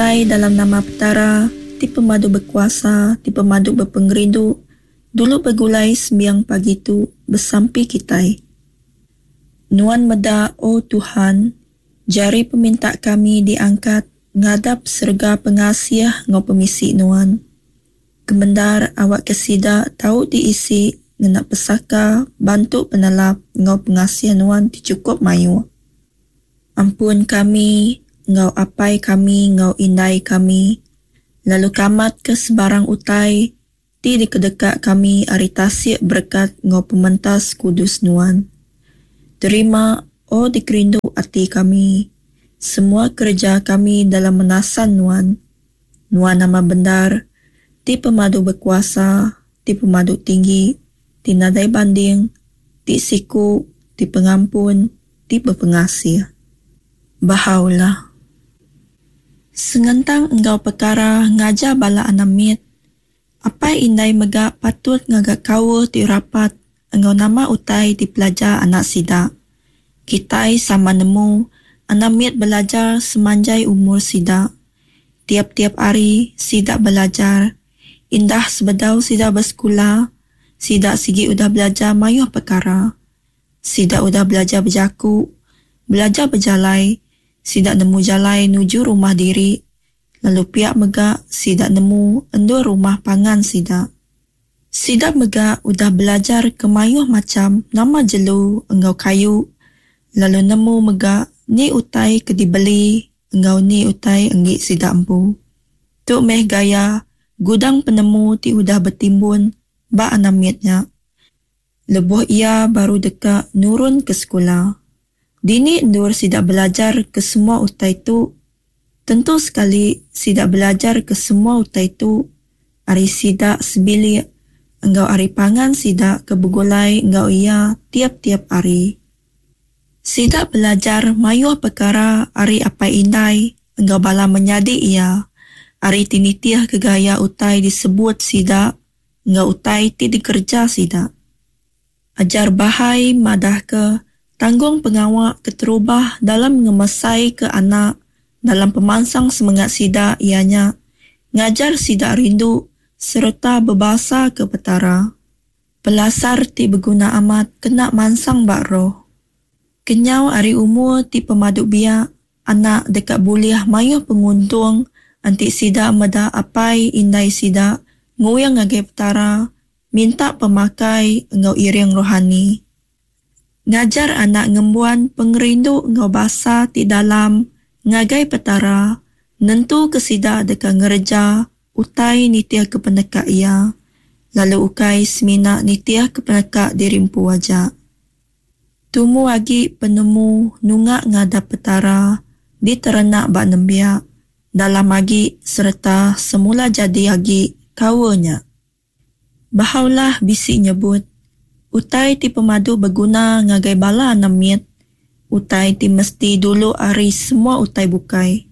Ai dalam nama Petara ti pemadu bekuasa ti pemadu bepengerindu dulu begulai sembiang pagi tu besampi kitai. Nuan meda O Tuhan jari peminta kami diangkat ngadap serega pengasih enggau pemisi Nuan. Kemendar awakka sida tau diisi ngena pesaka bantu penelap enggau pengasih Nuan ti chukup mayuh. Ampun kami enggau apai kami enggau indai kami, lalu kamatka sebarang utai ti dikedeka kami ari tasik berekat enggau pementas kudus Nuan. Terima, O dikerindu ati kami, semua kereja kami dalam menasan Nuan. Nuan nama bendar, ti pemadu bekuasa, ti pemadu tinggi, ti nadai banding, ti siku, ti pengampun, ti bepengasih. Bahá'u'lláh. Sengentang enggau pekara ngajar bala anak mit, apai indai mega patut ngaga kaul ti rapat enggau nama utai dipelajar anak sida. Kitai sama nemu anak mit belajar semanjai umur sida. Tiap-tiap hari sida belajar. Indah sebedau sida besekula, sida sigi udah belajar mayuh pekara. Sida udah belajar bejaku, belajar bejalai, sida nemu jalai nuju rumah diri, lalu pia mega sida nemu endur rumah pangan sida. Sida mega udah belajar ke mayuh macham nama jelu enggau kayu, lalu nemu mega ni utai ke dibeli enggau ni utai enggi sida empu. Tu meh gaya gudang penemu ti udah betimbun ba anak mit nya. Lebuh iya baru deka nurun ke sekula. Dini endur sida belajar ke semua utai tu? Tentu sekali sida belajar ke semua utai tu ari sida sebilik enggau ari pangan sida ke begulai enggau iya tiap-tiap hari. Sida belajar mayuh pekara ari apai indai enggau bala menyadi iya ari ti nitihka gaya utai disebut sida enggau utai ti dikereja sida. Ajar Bahá'í madahka tanggung pengawa keterubah dalam ngemesaika anak dalam pemansang semengat sida iya nya ngajar sida rindu sereta bebasaka Petara. Pelasar ti beguna amat kena mansang ba roh. Kenyau ari umur ti pemadu biak, Anak deka bulih mayuh penguntung enti sida meda apai indai sida nguing ngagai Petara minta pemakai enggau iring rohani. Ngajar anak ngembuan pengerindu enggau basa ti dalam ngagai Petara nentuka sida deka ngereja utai nitihka peneka Iya, lalu ukai semina nitihka peneka diri empu aja. Tumu agi penemu nunga ngadap Petara diterenak ba nembiak, dalam agi sereta semula jadi agi kaul nya. Baha'u'lláh bisi nyebut, utai ti pemadu beguna ngagai bala anak mit, utai ti mesti dulu ari semua utai bukai,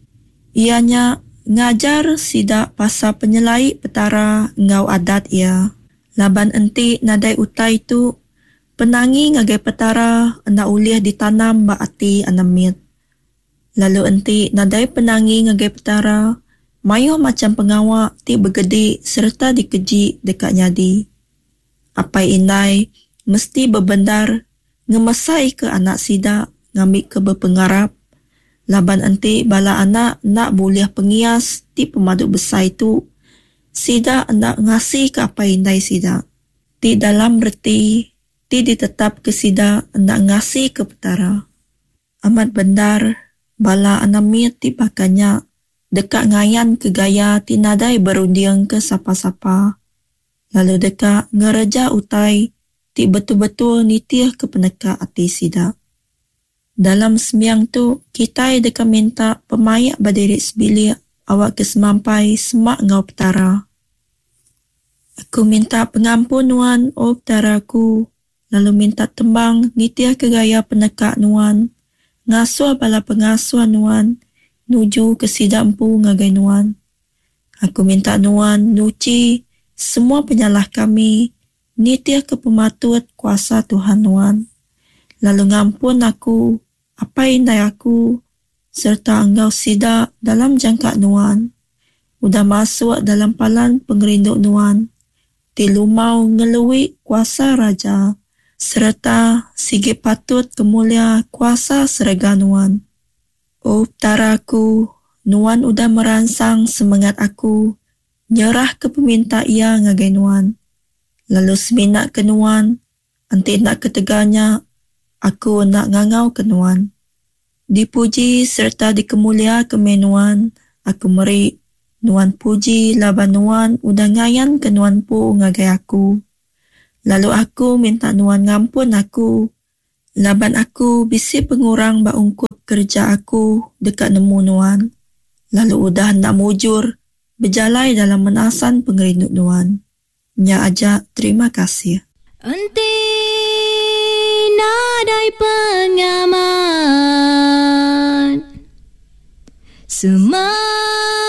iya nya ngajar sida pasal penyelai Petara enggau adat Iya. Laban enti nadai utai tu, Penangi ngagai Petara enda ulih ditanam ba ati anak mit. Lalu enti nadai penangi ngagai Petara, mayuh macham pengawa ti begedi sereta dikeji deka nyadi. Apai indai mesti bebendar ngemesaika anak sida ngambika bepengarap, laban enti bala anak enda bulih pengias ti pemadu besai tu, sida enda ngasika apai indai sida. Ti dalam reti ti ditetapka sida enda ngasika Petara. Amat bendar, bala anak mit ti baka nya deka ngayanka gaya ti nadai berundingka sapa-sapa, lalu deka ngereja utai ti betul-betul nitihka peneka ati sida. Dalam sembiang tu, kitai deka minta pemaik ba diri sebilik awakka semampai semak enggau Petara. Aku minta pengampun Nuan, O Petara aku, lalu minta tembang nitihka gaya peneka Nuan, ngasuh bala pengasuh Nuan nujuka sida empu ngagai Nuan. Aku minta Nuan nuchi semua penyalah kami nitihka pematut kuasa Tuhan Nuan, lalu ngampun aku, apai indai aku, sereta enggau sida dalam jangka Nuan, udah masuk dalam palan pengerindu Nuan ti lumau ngelui kuasa raja sereta sigi patut kemulia kuasa serega Nuan. O Petara aku, Nuan udah meransang semengat aku nyerahka peminta iya ngagai Nuan, lalu semina ke Nuan, enti enda ketegal nya, aku enda ngangauka Nuan. Dipuji sereta dikemuliaka meh Nuan, aku meri Nuan puji laban Nuan udah ngayanka Nuan empu ngagai aku. Lalu aku minta Nuan ngampun aku laban aku bisi pengurang ba ungkup kereja aku deka nemu Nuan, lalu udah enda mujur bejalai dalam menasan pengerindu Nuan. Nya aja terima kasih. Enti nadai pengamat. Semua.